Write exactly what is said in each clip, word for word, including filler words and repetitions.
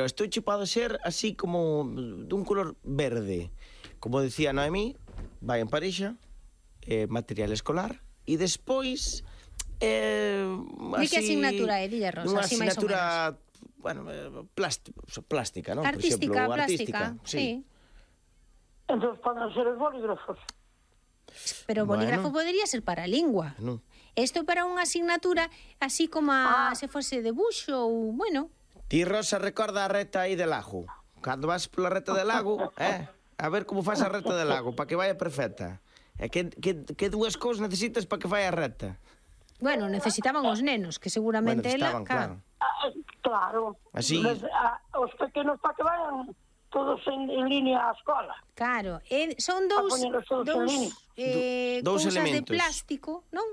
Isto che pode ser así como dun color verde. Como decía Noemí, vai en parexa, eh, material escolar, e despois... Eh, Di que asignatura é, dilla Rosa, unha así máis ou asignatura, bueno, eh, plástica, plástica, non? Artística, Por exemplo, plástica, artística, sí. Entón poden ser os bolígrafos. Pero o bolígrafo Bueno. podería ser para a lingua. Non. Isto para unha asignatura así como a, Ah. se fose debuxo ou, bueno... Ti, Rosa, recorda a reta aí de lago. Cando vas pola reta de lago, eh? A ver como faz a reta de lago, para que vaya perfecta. E que, que, que dúas cousas necesitas para que vaya recta? Bueno, necesitaban os nenos, que seguramente Bueno, ela... estaban, claro. Ah, claro. Así. Mas, ah, os pequenos para que vayan todos en, en línea á escola. Claro, e son dous, A poñelos todos en dous, línea. eh, Dous cousas de elementos. plástico, non?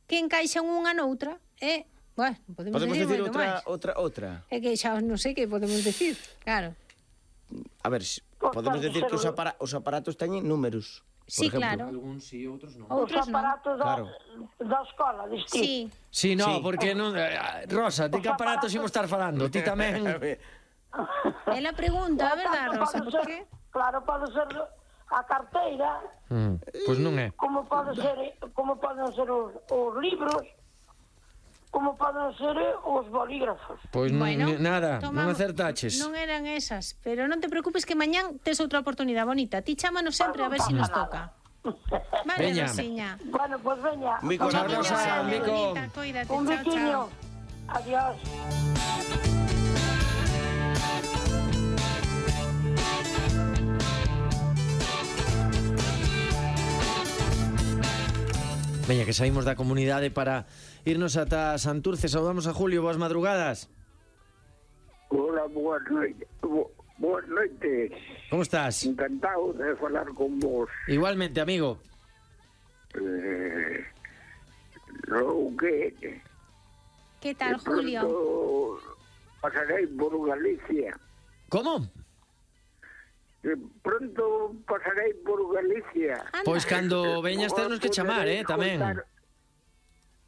Que encaixan unha noutra, e... Bueno, podemos, Podemos decir, decir moito outra, máis. outra, outra. É que xa non sei que podemos decir, claro. A ver, si- Pues podemos pode decir ser que os, un- apara os aparatos teñen números. por Sí, exemplo. claro. Algúns sí, outros non. Os Outros non. aparatos da, Claro. da escola, distinto. Sí. Sí, no, Sí. porque non... eh, Rosa, ti que aparatos imos estar falando? Ti tamén... Ela pregunta, a verdade, Rosa, Pode por ser- que? Claro, pode ser a carteira, Mm, pois non é. como pode ser, como poden ser os, os libros, como poden ser os bolígrafos. Pois non, Bueno, ni- nada, non tomamos- acertaches. Non eran esas, pero non te preocupes que mañán tes outra oportunidade bonita. Ti chámanos sempre a ver se si nos toca. Vale, Veña. Rosiña. Bueno, pues veña. Mico, Chao, Miña, Rosa, vale, Mico. bonita, Cuídate, Un chao, biquiño. chao. Adiós. Veña, que saímos da comunidade para irnos ata Santurce. Saudamos a Julio, boas madrugadas. Hola, boas noites. Bo- Boas noites. Como estás? Encantado de falar con vos. Igualmente, amigo. Eh, lo que Que tal, de pronto Julio? pasarei por Galicia. Como? De pronto pasarei por Galicia. Anda. Pois cando veñas ternos que chamar, eh, tamén.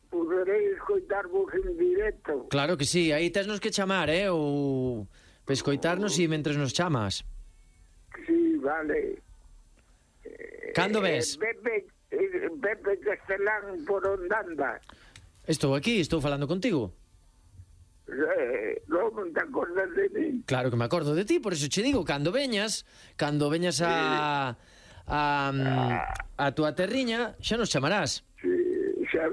Poderei escoitar vos en directo. Claro que sí, aí tesnos que chamar, eh, ou pescoitarnos e mentres nos chamas. Sí, vale. Cando Eh, ves? Pepe, eh, Pepe Castelán por onde anda. Estou aquí, estou falando contigo. Eh, non te acordas de mí? Claro que me acordo de ti, por eso che digo, cando veñas, cando veñas a a, a tua terriña, xa nos chamarás. Sí, xa,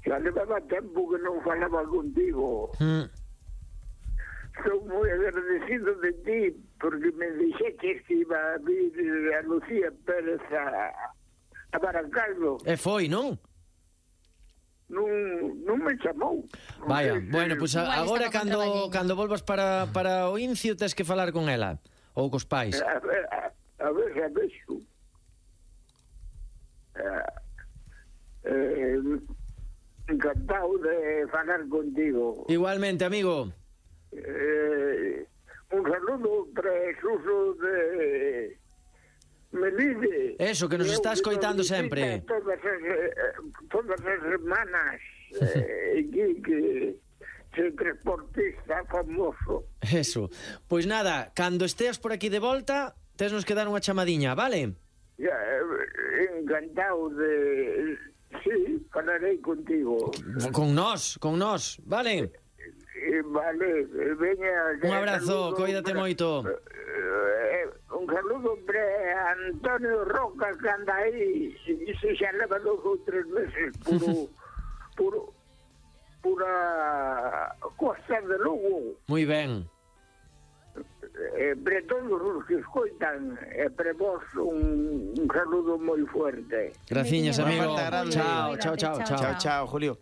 xa levaba tempo que non falaba contigo. Mm. Estou moi agradecido de ti porque me dixeches que iba a vir a Lucía Pérez a, a Baracaldo. E foi, non? Non, non me chamou. Vaya, Non sei se- bueno, pois pues Igual agora estaba cando contraballeño. cando volvas para para o Incio tes que falar con ela ou cos pais. A ver, a, a ver, a ver, xo. Eh, eh, encantado de falar contigo. Igualmente, amigo. Eh, un saludo para Suso de Melide. Eso, que nos Eu está escoitando visita sempre. Todas as, eh, todas as semanas. Eh, que, que se transportista famoso. Eso. Pois nada, cando esteas por aquí de volta, tesnos que dar unha chamadiña, vale? Ya, eh, encantado de... Sí, falarei contigo. Con nós, con nós, vale? Eh, vale, eh, veña... Un abrazo, coídate moito. Eh, un saludo para Antonio Roca que anda aí e se xa leva dos ou tres meses puro puro pura Costa de Lugo. Moi ben. Eh, para todos os que escoitan e para vos un, un saludo moi fuerte. Graciñas, Veña, amigo. Marta, grande. Chao, chao, chao, Cuídate, chao. Chao, chao, Julio.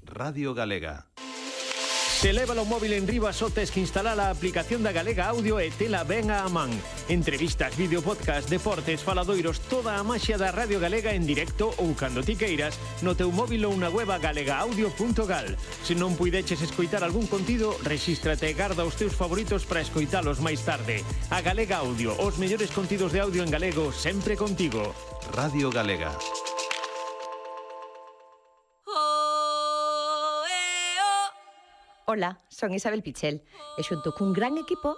Radio Galega. Se leva o móvil en riba só tes que instalar a aplicación da Galega Audio e tela ben a man. Entrevistas, vídeo, podcast, deportes, faladoiros, toda a maxia da Radio Galega en directo ou cando ti queiras no teu móvil ou na web galega audio punto gal. Se non puideches escoitar algún contido, rexístrate e garda os teus favoritos para escoitalos máis tarde. A Galega Audio, os mellores contidos de audio en galego sempre contigo. Radio Galega. Ola, son Isabel Pichel e xunto cun gran equipo